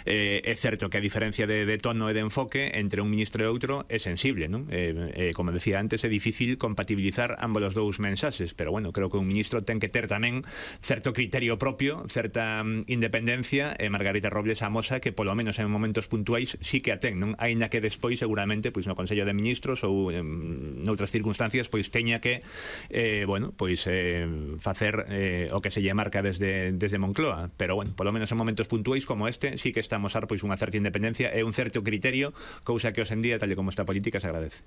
É certo que a diferencia de tono e de enfoque entre un ministro e outro é sensible, non? Como decía antes, é difícil compatibilizar ambos os dous mensaxes, pero bueno, creo que un ministro ten que ter tamén certo criterio propio, certa independencia, e Margarita Robles amosa que polo menos en momentos puntuais sí que a ten, non? Aínda que despois seguramente pois no Consello de Ministros ou noutras circunstancias pois teña que facer o que se lle marca desde Moncloa, pero bueno, polo menos en momentos puntuais como este sí que estamos a pois unha certa independencia e un certo criterio, cousa que hoxe en día, tal e como está a política, se agradece.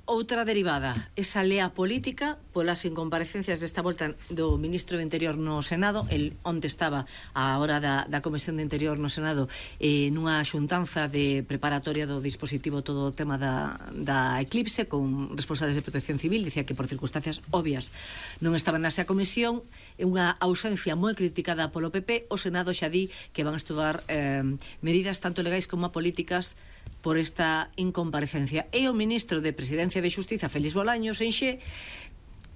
Outra derivada, esa lea política polas incomparecencias desta volta do ministro do Interior no Senado. El onte estaba a hora da Comisión de Interior no Senado nunha xuntanza de preparatoria do dispositivo todo o tema da eclipse con responsables de Protección Civil. Dicía que por circunstancias obvias non estaban nesa comisión, unha ausencia moi criticada polo PP. O Senado xa di que van a estudar medidas tanto legais como políticas por esta incomparecencia. E o ministro de Presidencia de Xustiza, Félix Bolaños, enxe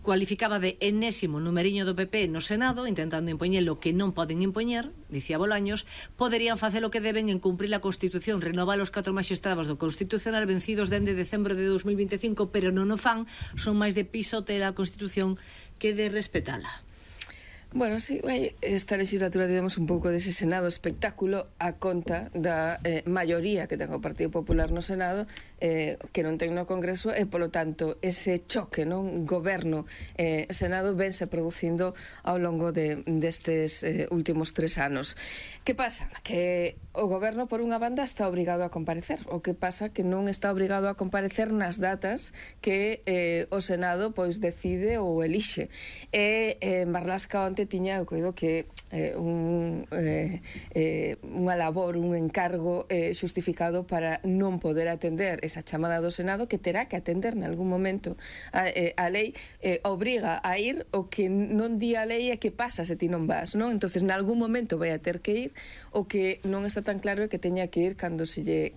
cualificaba de enésimo numeriño do PP no Senado, intentando impoñer lo que non poden impoñer. Dicía Bolaños, poderían facer o que deben en cumprir a Constitución, renovar os 4 magistrados do Constitucional vencidos dende decembro de 2025, pero non o fan, son máis de pisotear a Constitución que de respetala. Bueno, sí, esta legislatura tivemos un pouco dese Senado espectáculo a conta da maioría que ten o Partido Popular no Senado, que non ten no Congreso, e polo tanto ese choque, non, goberno-Senado vense producindo ao longo destes últimos 3 anos. Que pasa? Que o goberno por unha banda está obrigado a comparecer, o que pasa que non está obrigado a comparecer nas datas que o Senado pois decide ou elixe. Marlaska onte tiña, eu coido que unha labor, un encargo xustificado para non poder atender esa chamada do Senado, que terá que atender nalgún momento. A lei obriga a ir, o que non di a lei é que pasa se ti non vas, non? Entonces nalgún momento vai a ter que ir, o que non está tan claro é que teña que ir cando se lle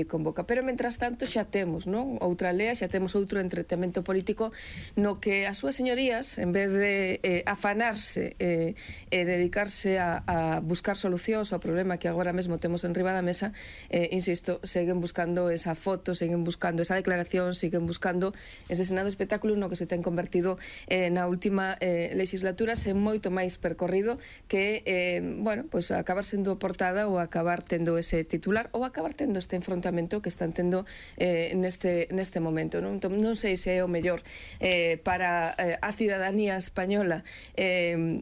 convoca. Pero mentras tanto xa temos, non, outra lea, xa temos outro entretenimento político no que as súas señorías, en vez de afanarse e dedicarse a buscar solucións ao problema que agora mesmo temos en riba da mesa, insisto, seguen buscando esa foto, seguen buscando esa declaración, seguen buscando ese Senado espectáculo no que se ten convertido na última legislatura, sen moito máis percorrido que, bueno, pois acabar sendo portada ou acabar tendo ese titular ou acabar tendo este enfrontamento que están tendo neste momento, non? Non sei se é o mellor para a cidadanía española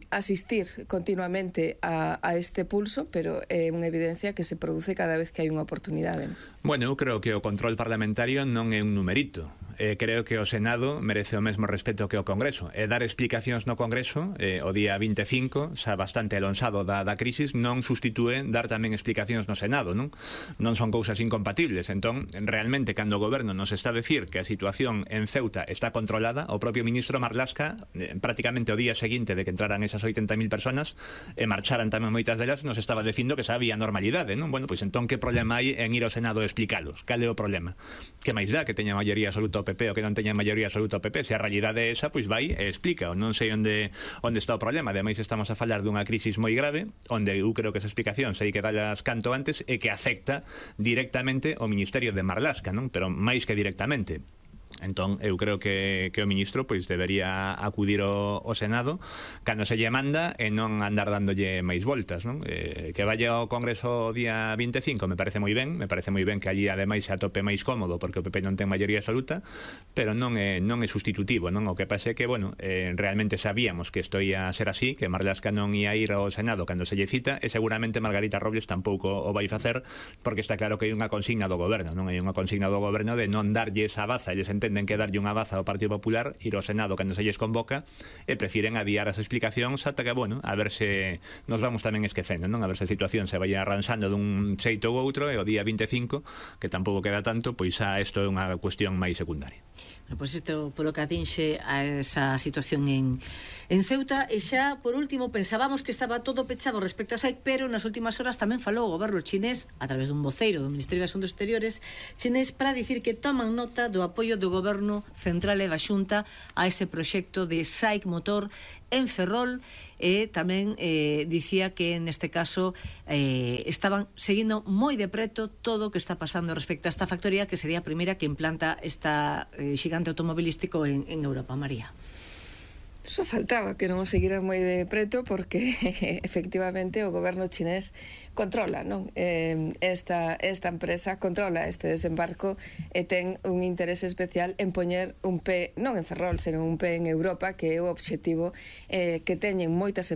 asistir continuamente a este pulso, pero é unha evidencia que se produce cada vez que hai unha oportunidade. Bueno, eu creo que o control parlamentario non é un numerito. Creo que o Senado merece o mesmo respeto que o Congreso. Dar explicacións no Congreso o día 25, xa bastante alonsado da crisis, non sustitúe dar tamén explicacións no Senado, non? Non son cousas incompatibles. Entón, realmente, cando o Goberno nos está a decir que a situación en Ceuta está controlada, o propio ministro Marlaska, prácticamente o día seguinte de que entraran esas 80.000 personas e marcharan tamén moitas delas, nos estaba dicindo que xa había normalidade, non? Bueno, pois entón, que problema hai en ir ao Senado a explicalos? Cal é o problema? Que máis dá que teña maioría absoluta o PP ou que non teña maioría absoluta o PP? Se a realidade é esa, pois vai e explica. Non sei onde está o problema. Ademais, estamos a falar dunha crisis moi grave, onde eu creo que esa explicación sei que dalas canto antes e que afecta directamente o Ministerio de Marlaska, non? Pero máis que directamente. Entón, eu creo que o ministro pois debería acudir ao Senado cando se lle manda e non andar dándolle máis voltas, non? Que vaya ao Congreso o día 25 me parece moi ben que allí ademais se atope máis cómodo porque o PP non ten maioría absoluta, pero non é sustitutivo, non? O que pasa é que, bueno, realmente sabíamos que isto ia ser así, que Marlaska non ia ir ao Senado cando se lle cita, e seguramente Margarita Robles tampouco o vai facer, porque está claro que hai unha consigna do goberno, non? Hai unha consigna do goberno de non darlle esa baza, eles entenden que darlle unha baza ao Partido Popular, ir ao Senado cando se lles convoca, e prefiren adiar as explicacións ata que, bueno, a ver se nos vamos tamén esquecendo, non? A ver se a situación se vai arranxando dun xeito ou outro, e o día 25, que tampouco queda tanto, pois xa isto é unha cuestión máis secundaria. Pois isto polo que atinxe a esa situación en Ceuta. E xa, por último, pensábamos que estaba todo pechado respecto a SAIC, pero nas últimas horas tamén falou o goberno chinés, a través dun voceiro do Ministerio de Asuntos Exteriores chinés, para dicir que toman nota do apoio do do Goberno Central e da Xunta a ese proxecto de SAIC Motor en Ferrol, e tamén dicía que neste caso estaban seguindo moi de preto todo o que está pasando respecto a esta factoría, que sería a primeira que implanta esta xigante automobilístico en Europa. María. Só faltaba que non o seguira moi de preto, porque efectivamente o goberno chinés controla, non? Esta empresa controla este desembarco e ten un interese especial en poñer un pé non en Ferrol, senón un pé en Europa, que é o obxectivo que teñen moitas